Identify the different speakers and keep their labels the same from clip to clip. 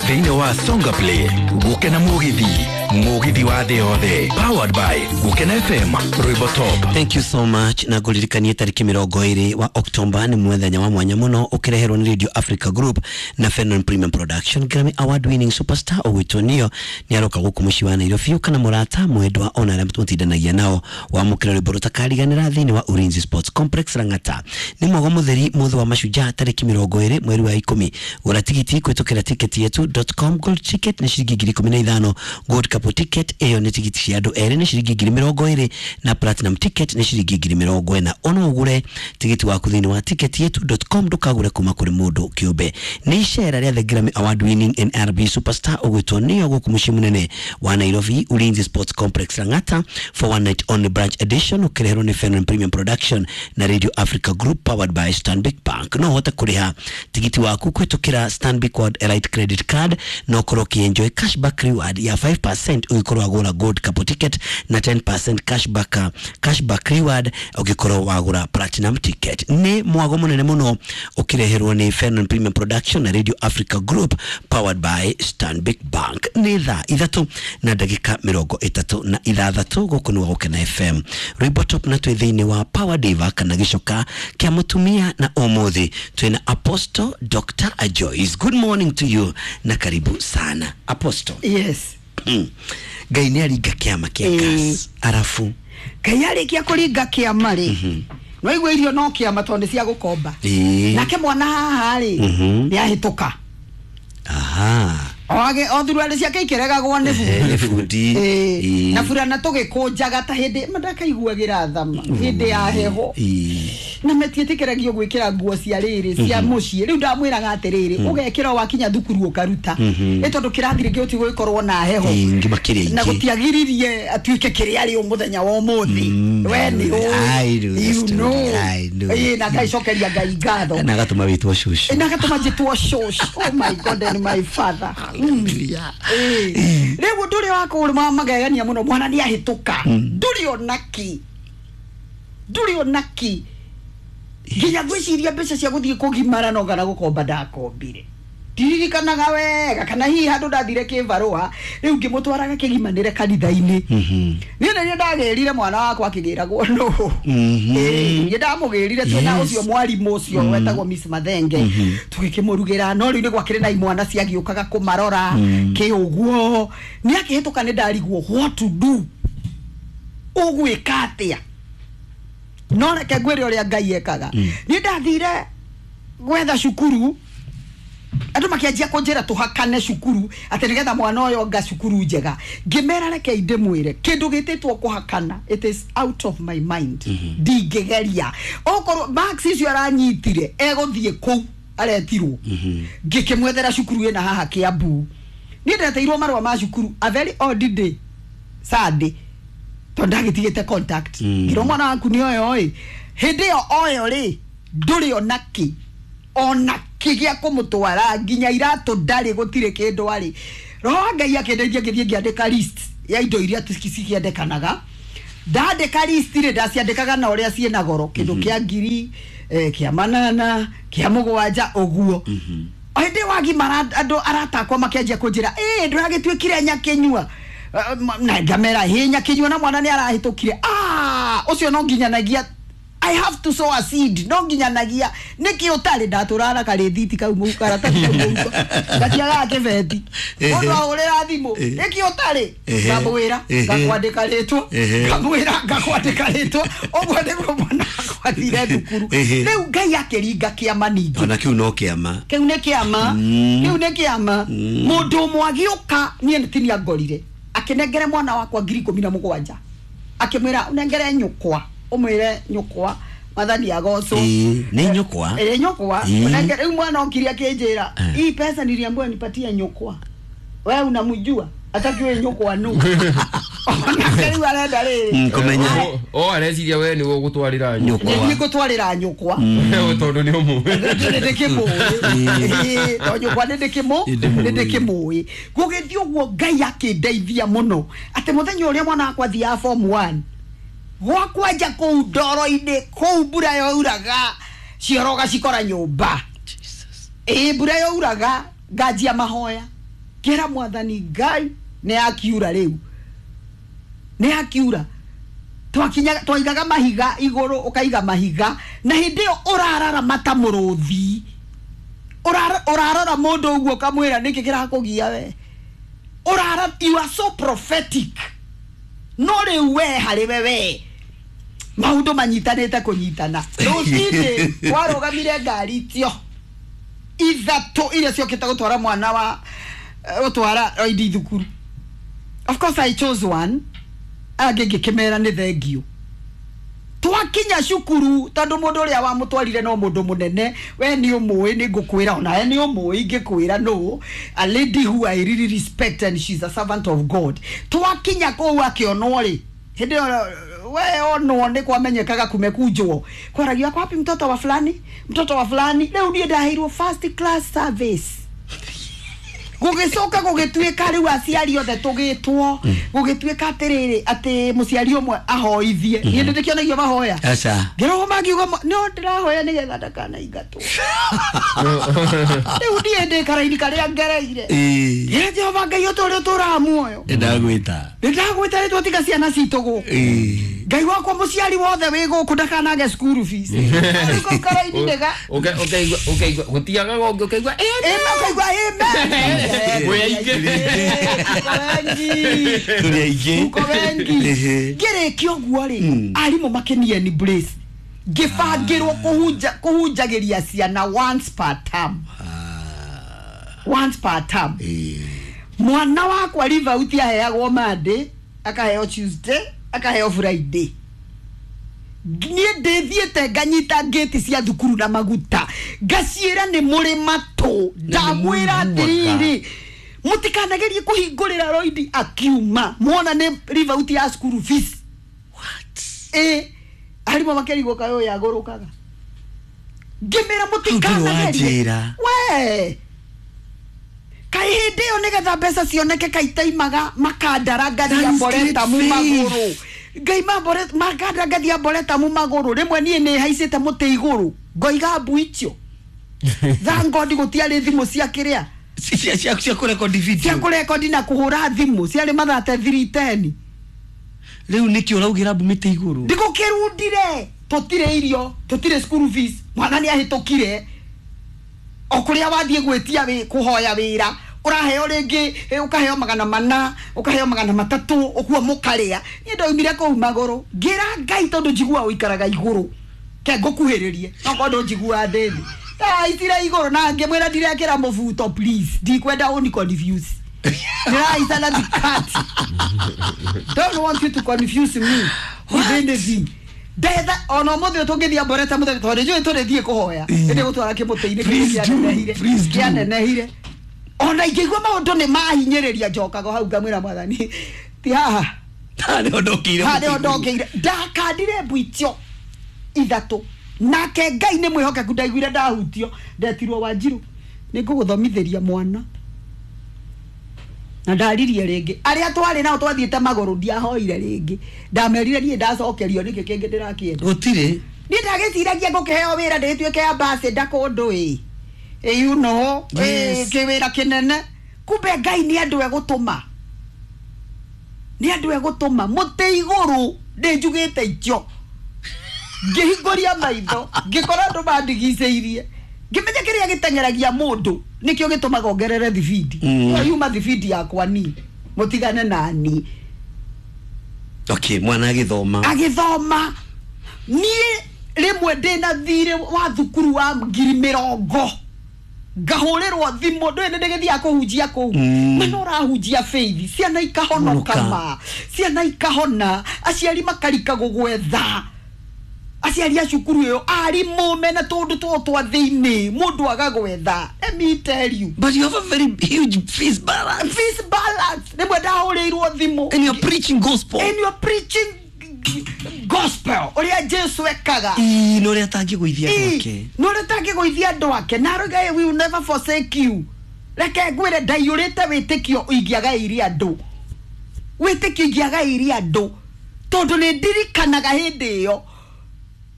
Speaker 1: Thĩinĩ wa Songa Play Gũkena Mũgithi, Mũgithi wa thĩ yothe, powered by Gũkena FM, Rwĩmbo Top.
Speaker 2: Thank you so much. Na ngũririkanie tarĩki 20 wa October nĩ mũthenya wa mwanya mũno ũkĩreherwo nĩ Radio Africa Group na Fenon Premium Production. Grammy Award winning superstar ũgwĩtwo Neo nĩ aroka gũkũ mũciĩ wa Nairobi kana mũrata mwendwa ona arĩa mũtindanagia nao wamũkĩra rwĩmbo rũtakariganĩra thĩinĩ wa Ulinzi Sports Complex Lang'ata. Nĩ mwago mũtheri mũthĩ wa mashujaa tarĩki 20 mweri wa 10. Gũra tigiti kũhĩtũkĩra ticket yetu.com. Gold ticket nĩ ciringi 15,000, gold couple ticket ĩyo nĩ tigiti cia andũ erĩ nĩ ciringi 20,000 na platinum ticket nĩ ciringi 40,000. Ona ũgũre tigiti waku thĩinĩ wa ticket yetu.com, ndũkagũre kuma kũrĩ mũndũ kĩũmbe. Nĩ icera rĩa the Grammy Award winning NRB superstar ũgwĩtwo Neo gũkũ mũciĩ mũnene wa Nairobi, Ulinzi Sports Complex Lang'ata, for one night only branch edition ũkĩreherwo nĩ Fenon Premium Production na Radio Africa Group, powered by Stanbic Bank. No ũhote kũrĩha tigiti waku kũhĩtũkĩra Stanbic World Elite Credit Card na ũkorwo ũkĩenjoy cashback reward ya 5% ũgĩkorwo wagũra gold couple ticket na 10% cashback reward ũgĩkorwo wagũra platinum ticket. Nĩ mwago mũnene mũno ũkĩreherwo nĩ Fenon Premium Production na Radio Africa Group, powered by Stanbic Bank. Nĩ thaa 3:36 gũkũ nĩ Gũkena FM, Rwĩmbo Top, na twĩ thĩinĩ wa Power Diva kana gĩcoka kĩa mũtumia, na ũmũthĩ twĩna Apostle Dr. Joyce. Good morning to you na karibu sana, Apostle.
Speaker 3: Yes.
Speaker 2: Ngai nĩ aringa kĩama kĩa gas arabu.
Speaker 3: Ngai arĩkia kũringa kĩama rĩ, no igua irio no kĩama tondũ nĩ cia gũkomba. Nake mwana haha rĩ, nĩ ahĩtũka. Oage o thuruarĩ ciake ikĩregagwo nĩ
Speaker 2: nĩ bundi.
Speaker 3: Na burana tũgĩkũnjaga ta hĩndĩ mandakaiguagĩra thama hĩndĩ ya heho na metiĩtĩkĩragio gwĩkĩra nguo cia rĩrĩ cia mũciĩ. Rĩu ndamwĩraga atĩrĩrĩ, ũgekĩra wakinya thukuru ũkaruta ĩ tondũ kĩrathi rĩngĩ gũtigũgĩkorwo na heho.
Speaker 2: Ĩĩ, makĩria
Speaker 3: na
Speaker 2: ingĩ.
Speaker 3: Gũtiagiririe atuĩke kĩrĩa arĩ mũthenya wa ũmũthĩ. We nĩ
Speaker 2: I know the
Speaker 3: you
Speaker 2: story.
Speaker 3: know.
Speaker 2: I know.
Speaker 3: Ĩĩ, na ngaicokeria Ngai ngatho.
Speaker 2: Na agatũma wĩtwo cũcũ.
Speaker 3: Na agatũma njĩtwo cũcũ. Oh my God and my father. Ĩĩ. Rĩu ũndũ ũrĩa wa kũrũma magegania mũno, mwana nĩ ahĩtũka, ndũrĩ onaki, ndũrĩ onaki nginya ngwĩciria mbeca cia gũthiĩ kũgimara no kana gũkomba ndakombire, ndiririkanaga wega kana hihi handũ ndathire kĩbarũa. Rĩu ngĩmũtwaraga kĩgimanĩre kanitha-inĩ. Niĩ nĩ niĩ ndagĩrire mwana wakwa akĩgĩragwo nũ. Ĩĩ, niĩ ndamũgĩrire twĩna ũcio mwarimũ ũcio wetagwo Miss Mathenge, tũgĩkĩmũrugĩra, no rĩu nĩ gwakĩrĩ na imwana ciagĩũkaga kũmarora kĩ ũguo. Nĩ akĩhĩtũka nĩ ndarigwo what to do, ũgwĩka atĩa? No reke ngwĩre ũrĩa Ngai ekaga. Niĩ ndathire gwetha cukuru, andũ makĩanjia kũnjĩra tũhakane cukuru atĩ nĩgetha mwana ũyũ anga cukuru njega. Ngĩmera reke ndĩmwĩre kĩndũ gĩtĩtwo kũhakana, it is out of my mind. Ndingĩgeria okorwo marks icio aranyitire egũthiĩ kũu aretirwo. Ngĩkĩmwethera cukuru ĩna haha Kĩambu. Niĩ ndeteirwo marũa ma cukuru a very odd day, Sunday, tondũ ndagĩtigĩte contact. Ngĩrwo mwana waku nĩ oyo ĩ hĩndĩ ĩyo oyo rĩ, ndũrĩ onakĩ onakĩ gĩa kũmũtwara nginya iratũ ndarĩ, gũtirĩ kĩndũ arĩ. Roho wa Ngai akĩndeithia, ngĩthiĩ ngĩandĩka list ya indo iria cikĩendekanaga. Ndandĩka list rĩ, ndaciandĩkaga na ũrĩa ciĩna goro, kĩndũ kĩa ngiri kĩa 800, kĩa 7 ũguo. O hĩndĩ wagimara andũ arata akwa makĩanjia kũnjĩra, ĩ ndũragĩtuĩkire nyakĩnyua? Na ngamera hĩ nyakĩnyua na mwana nĩ arahĩtũkire. Ah, ũcio no nginyanagia I have to sow a seed, no nginyanagia nĩkĩ ũtarĩ ndatũrara karĩthiti kau karatathi kau mũhuko gatiagaga kĩbeti. Mũndũ ahũrĩra thimũ, nĩkĩ ũtarĩ? Ngamwĩra ngakwandĩka rĩtwa, ngamwĩra ngakwandĩka rĩtwa. Ũguo nĩguo mwana wakwa athire thukuru. Rĩu Ngai akĩringa kĩama ningĩ.
Speaker 2: Ona kĩu no kĩama.
Speaker 3: Kĩu nĩ kĩama, kĩu nĩ kĩama. Mũndũ ũmwe agĩũka, niĩ nĩ tinia ngorire akĩnengere mwana wakwa 17,000, akĩmwĩra ũnengere nyũkwa, ũmwĩre nyũkwa Mwathani agocwo.
Speaker 2: Ĩĩ, nĩ nyũkwa.
Speaker 3: Ĩĩ, nyũkwa. Ũnengere. Rĩu mwana okire akĩnjĩra, hii pesa niliambiwa nipatie nyũkwa, we unamjua atakiwe nyũkwa nũ? Onake rĩu arenda rĩrĩ.
Speaker 2: Kũmenya.
Speaker 4: O areciria we nĩwe ũgũtwarĩra
Speaker 2: Nyũkwa.
Speaker 3: Nĩ ngũtwarĩra nyũkwa.
Speaker 4: Tondũ nĩ ũmũĩ.
Speaker 3: Nĩ ndĩkĩmũĩ to nyũkwa nĩ ndĩkĩmũ nĩ ndĩkĩmũĩ. Gũgĩthiĩ ũguo Ngai akĩndeithia mũno atĩ mũthenya ũrĩa mwana wakwa athiaga form 1, gwakwa nja kũu ndoro-inĩ kũu mbura yoiraga cioro ũgacikora nyũmba. Ĩĩ, mbura yoiraga nganjia mahoya. Ngĩra mwathani Ngai nĩ akiura rĩu, nĩ akiura. Twakinya twaigaga mahiga igũrũ, ũkaiga mahiga, na hĩndĩ ĩyo ũrararama ta mũrũthi. Ũrarora mũndũ ũguo ũkamwĩra nĩkĩ kĩrakũgia we. Ũrara, you are so prophetic. No rĩu we harĩ we we maũndũ manyitanĩte kũnyitana. Rũcinĩ warũgamire ngari itio ithatũ iria ciokĩte gũtwara mwana wa gũtwara Roidi thukuru. Of course I chose one, angĩ ngĩkĩmera nĩ thengio. Twakinya cukuru tondũ mũndũ ũrĩa wamũtwarire no mũndũ mũnene, we nĩ ũmũĩ, nĩ ngũkwĩra onawe nĩ ũmũĩ, ingĩkwĩra no a lady who I really respect and she's a servant of God. Twakinya kũu akĩonwo rĩ, hĩndĩ ĩyo we onwo nĩ kwamenyekaga kumekunjwo, kwaragio ako wapi mtoto wa fulani, mtoto wa fulani. Rĩu niĩ ndaheirwo first class service. Gũgĩcoka gũgĩtuĩka rĩu aciari othe tũgĩtwo, gũgĩtuĩka atĩrĩrĩ, atĩ mũciari ũmwe ahoithie. Niĩ ndĩkĩonagio mahoya.
Speaker 2: Aca.
Speaker 3: Ngĩrwo mangiuga no ndĩrahoya nĩgetha ndakanaingatwo. Rĩu niĩ ndĩ karaini karĩa ngereire.
Speaker 2: Ĩĩ.
Speaker 3: Ĩ Jehova Ngai ũtũũre ũtũũraga muoyo.
Speaker 2: Ndagwĩta.
Speaker 3: Nĩndagwĩta rĩtwa tiga ciana citũ gũkũ.
Speaker 2: Ĩĩ.
Speaker 3: Ngai wakwa mũciari wothe wĩ gũkũ ndakanage school fees. Rĩu kau karaini nĩga.
Speaker 4: Ũkaigua ũkaigua gũtiagaga ũngĩ ũkaigua
Speaker 3: Ĩ makaigua amen.
Speaker 4: Mwĩ aingĩ.
Speaker 3: Wengi.
Speaker 2: Tũrĩ aingĩ.
Speaker 3: Uko wengi.
Speaker 2: Ehe.
Speaker 3: Ngĩrĩkia ũguo rĩ, arimũ makĩnie ni brace. Ngĩbangĩrwo kũhunja kũhunjagĩria ciana once per term. Once per term.
Speaker 2: Ĩĩ.
Speaker 3: Mwana wakwa Rivauti aheagwo Monday, akaheo Tuesday, akaheo Friday. Niĩ ndĩthiĩte nganyita ngĩti cia thukuru na maguta, ngaciĩra nĩ mũrĩ matũ, ndamwĩra atĩrĩrĩ, mũtikanagerie kũhingũrĩra Roidi akiuma mwona nĩ Rivauti ya school fees.
Speaker 2: What?
Speaker 3: Ĩ arimũ makĩrigwo kaĩ ũyũ agũrũkaga. Ngĩmĩra mũtikanagerie.
Speaker 2: Wanjĩra.
Speaker 3: We kaĩ hĩndĩ ĩyo nĩgetha mbeca cioneke kaitaimaga makandara ngathia
Speaker 2: That is
Speaker 3: mboreta mu
Speaker 2: great faith.
Speaker 3: magũrũ, ngaima mboreta makandara ngathia mboreta mu magũrũ. Rĩmwe niĩ nĩ haicĩte mũtĩ igũrũ ngoiga mbu icio. Thank God gũtiarĩ thimũ cia kĩrĩa
Speaker 2: Cia cia cia kũrekondi
Speaker 3: cia
Speaker 2: video.
Speaker 3: kũrekondi na kũhũra thimũ ciarĩ mathate 3:10.
Speaker 2: Rĩu nĩkĩ ũraugĩra mbu mĩtĩ igũrũ?
Speaker 3: Ndĩgũkĩrundire tũtirĩ irio, tũtirĩ school fees, mwana nĩ ahĩtũkire. O kũrĩa wathiĩ gwĩtia wĩ kũhoya wĩra ũraheo rĩngĩ, ũkaheo 400, ũkaheo 300, ũguo mũkarĩa. Niĩ ndaumire kũu magũrũ ngĩra Ngai tondũ njiguaga ũikaraga igũrũ, ke ngũkuhĩrĩrie no korwo ndũnjiguaga ndĩ thĩ. Ndahaicire igũrũ na ngĩmwĩra ndirekĩra mũbuto please, ndikwenda ũni confuse. Ndĩrahaica na thikati. Don't want you to confuse me with anything. Ndetha ona ũmũthĩ ũyũ tũngĩthiĩ mboreta mũthenya tondũ njũĩ tũrĩthiĩ kũhoya ĩndĩ gũtwara kĩmũtĩ-inĩ kĩrĩa
Speaker 2: Please do,
Speaker 3: kĩanenehire,
Speaker 2: please do.
Speaker 3: kĩanenehire. Ona ingĩigua maũndũ nĩ mahinyĩrĩria njokaga hau ngamwĩra mwathani ti haha.
Speaker 2: Haha nĩho ndokĩire
Speaker 3: haha
Speaker 2: mũtĩ
Speaker 3: nĩho
Speaker 2: igũrũ.
Speaker 3: ndokĩire. Ndakandire mbu icio ithatũ nake Ngai nĩ mwĩhokeku, ndaiguire ndahutio, ndetirwo Wanjirũ nĩ ngũgũthomithĩria mwana, na ndaririe rĩngĩ. Arĩa twarĩ nao twathiĩte magũrũ ndiahoire rĩngĩ, ndamerire niĩ ndacokerio nĩkĩ kĩngĩ ndĩrakĩenda.
Speaker 2: Gũtirĩ.
Speaker 3: Niĩ ndagĩciragia ngũkĩheo wĩra ndĩtuĩke ambassador kũndũ ĩ ĩ you know, ĩ
Speaker 2: Yes.
Speaker 3: kĩwĩra kĩnene, kumbe Ngai nĩ andũ egũtũma, nĩ andũ egũtũma mũtĩ igũrũ. Ndĩnjugĩte icio ngĩhingũria maitho ngĩkora andũ mandigicĩirie, ngĩmenya kĩrĩa gĩteng'eragia mũndũ nĩkĩo gĩtũmaga ongerere thibindi. Ĩyo yuma thibindi yakwa ni mũtigane nani.
Speaker 2: Okay, mwana agĩthoma.
Speaker 3: Agĩthoma. Niĩ rĩmwe ndĩna thirĩ wa thukuru wa 20,000 ngahũrĩrwo thimũ, ndũĩ nĩ ndĩgĩthiaga kũhunjia kũu. Mana ũrahunjia faith, ciana ikahonoka
Speaker 2: Honoka.
Speaker 3: ma ciana ikahona, aciari makarika gũgwetha, aciari a cukuru ĩyo, arimũ mena tũndũ tũũ twa thĩinĩ mũndũ agagwetha. Let me tell you.
Speaker 2: But you have a very huge fees balance.
Speaker 3: Fees balance. Rĩmwe ndahũrĩirwo thimũ.
Speaker 2: And you're preaching gospel.
Speaker 3: And you're preaching gospel ũrĩa Jesu ekaga.
Speaker 2: Ĩĩ, na ũrĩa atangĩgũithia andũ ake.
Speaker 3: No ũrĩa tangĩgũithia andũ ake na arauga we will never forsake you. Reke ngwĩre ndaiyũrĩte wĩtĩkio ingĩagaĩire andũ, wĩtĩkio ingĩagaĩire andũ, tondũ nĩ ndirikanaga hĩndĩ ĩyo.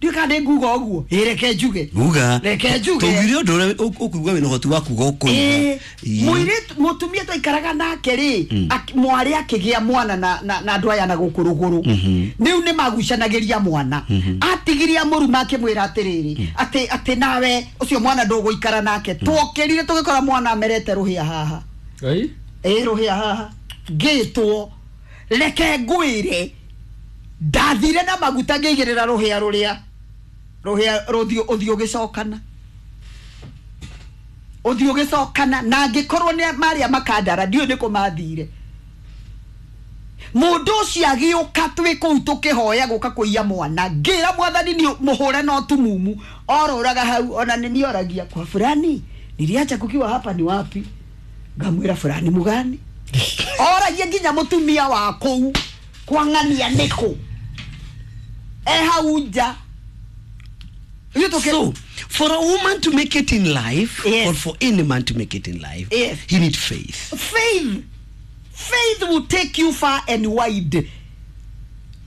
Speaker 3: Ndiũĩ kana nĩ nguga ũguo. Ĩ, reke njuge.
Speaker 2: Uga.
Speaker 3: Reke njuge.
Speaker 2: Tũugire ũndũ ũrĩa ũkũigua wĩna ũhoti wa kuga ũkũigua.
Speaker 3: Ĩ,
Speaker 2: Ĩ.
Speaker 3: mũirĩtu mũtumia twaikaraga nake rĩ, mwarĩ akĩgĩa mwana na andũ aya na gũkũ rũgũrũ, rĩu nĩ magucanagĩria mwana, atigiria mũruma akĩmwĩra atĩrĩrĩ, atĩ nawe ũcio mwana ndũgũikara nake. Twokĩrire tũgĩkora mwana amerete rũhĩa haha.
Speaker 4: Oi?
Speaker 3: Ĩ, rũhĩa haha ngĩtwo, reke ngwĩre, ndathire na maguta ngĩigĩrĩra rũhĩa rũrĩa rũhĩa rũthiũ ũthiũ ũgĩcokana, ũthiũ ũgĩcokana, na angĩkorwo nĩ marĩa makandara ndiũĩ nĩkũ mathire. Mũndũ ũcio agĩũka twĩ kũu tũkĩhoya gũka kũiya mwana, ngĩra mwathani nĩ mũhũre no tumumu orũraga hau, ona nĩ nioragia kwa fulani niliacha kukiwa hapa ni wapi, ngamwĩra fulani mugani, oragia nginya mũtumia wa kũu kwang'ania nĩkũ e hau nja. Ithuĩ
Speaker 2: So, for a woman to make it in life,
Speaker 3: Yes.
Speaker 2: or for any man to make it in life,
Speaker 3: Yes.
Speaker 2: he need faith.
Speaker 3: Faith will take you far and wide.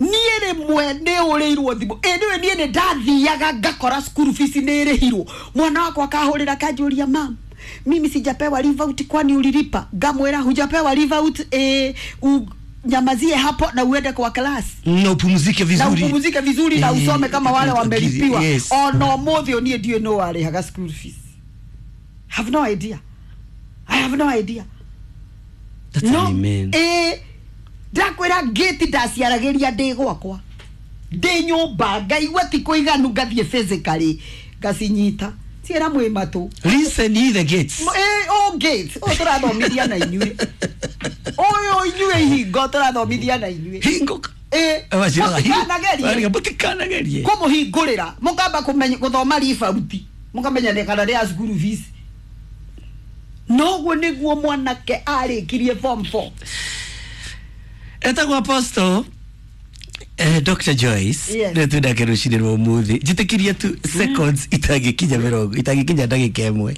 Speaker 3: Niĩ rĩmwe nĩ ũrĩirwo thimũ, ĩ nĩwe niĩ nĩ ndathiaga ngakora school fees nĩ ĩrĩhirwo, mwana wakwa akahũrĩra akanjũria, "Mam, mimi sijapewa leave out, kwani ulilipa?" Ngamwĩra, "Hujapewa leave out, nyamazie hapo na uende kwa class
Speaker 2: Na upumzike
Speaker 3: na
Speaker 2: vizuri.
Speaker 3: upumzike vizuri na usome kama wale wamelipiwa."
Speaker 2: Yes.
Speaker 3: Ona ũmũthĩ niĩ ndiũĩ nũ warĩhaga school fees. Have no idea, I have no idea.
Speaker 2: That's
Speaker 3: No.
Speaker 2: an amen.
Speaker 3: Ĩ, ndakwĩra ngĩti ndaciaragĩria ndĩ gwakwa ndĩ nyũmba, ngaigua ti kũiganu, ngathiĩ physically ngacinyita ciĩra mwĩ matũ.
Speaker 2: Listen ye the gates.
Speaker 3: Ĩ, o gates ũyũ tũrathomithia na inyuĩ, ũyũ inyuĩ ihingo tũrathomithia na inyuĩ.
Speaker 2: Hingo.
Speaker 3: Ĩ, mũtikanagerie
Speaker 2: Mũtikanagerie.
Speaker 3: Kũmũhingũrĩra mũkamba gũthoma ribauti, mũkamenya nĩ kana rĩa cukuru fees. Noguo nĩguo mwanake arĩkirie form 4.
Speaker 2: Etagwo Apostle Dr. Joyce.
Speaker 3: Yes.
Speaker 2: Nĩ twĩnake rũcinĩ rwa ũmũthĩ, njĩtĩkĩria tu seconds itangĩkinya 20, itangĩkinya ndagĩka 1.